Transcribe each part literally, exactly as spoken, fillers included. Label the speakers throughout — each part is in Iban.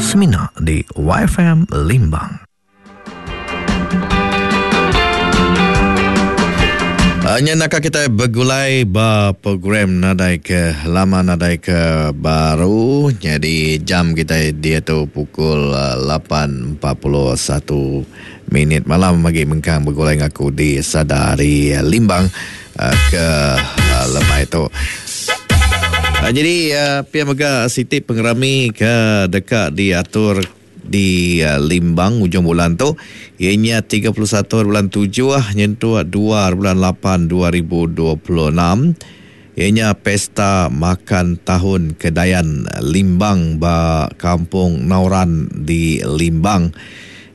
Speaker 1: Semina di Y F M Limbang.
Speaker 2: Nya nak kita bergulai ba program nadai ke lama nadai ke baru. Jadi jam kita dia tu pukul lapan empat puluh satu minit malam bagi mengkang bergulai ngaku di Sadari Limbang ke lemai tu. Jadi pia mega siti pengerami ke dekat diatur di Limbang ujung bulan tu ianya tiga puluh satu bulan tujuh nyentuh dua bulan lapan dua ribu dua puluh enam ianya pesta makan tahun Kedayan Limbang ba Kampung Nauran di Limbang.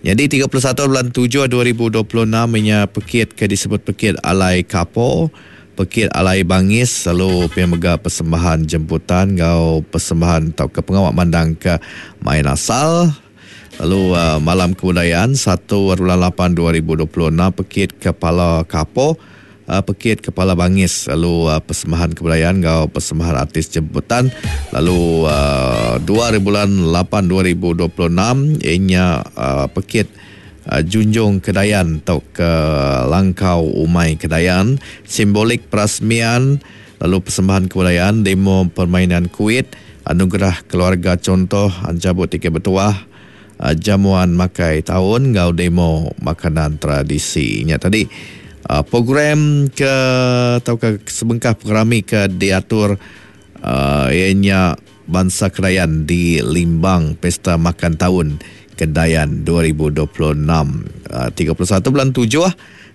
Speaker 2: Jadi tiga puluh satu bulan tujuh dua ribu dua puluh enam ianya pekit ke disebut pekit Alai Kapo, pekit Alai Bangis, lalu pemega persembahan jemputan ngau persembahan atau ke pengawak mandang ke main asal. Lalu uh, malam kebudayaan satu bulan lapan dua ribu dua puluh enam pekit Kepala Kapo, uh, pekit Kepala Bangis, lalu uh, persembahan kebudayaan ngau persembahan artis jemputan. Lalu uh, dua bulan lapan dua ribu dua puluh enam ianya uh, pekit uh, Junjung Kedayan atau ke Langkau Umai Kedayan, simbolik perasmian, lalu persembahan kebudayaan, demo permainan kuit, anugerah keluarga contoh, ancabut tiket bertuah, Uh, jamuan makai tahun ngau demo makanan tradisi. Nya tadi uh, program ke atau ke sebengkah program ke diatur uh, ianya Bangsa Kedayan di Limbang, Pesta Makan Tahun Kedayan dua ribu dua puluh enam, uh, tiga puluh satu bulan tujuh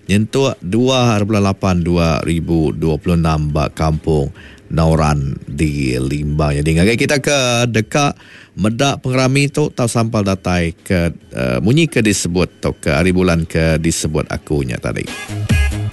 Speaker 2: nyentuh dua bulan lapan dua ribu dua puluh enam ba Kampung Nauran di Limbang. Jadi ngagai kita ke dekat medak pengerami tu tau sampal datai ke uh, munyi ke disebut atau ke hari bulan ke disebut akunya tadi.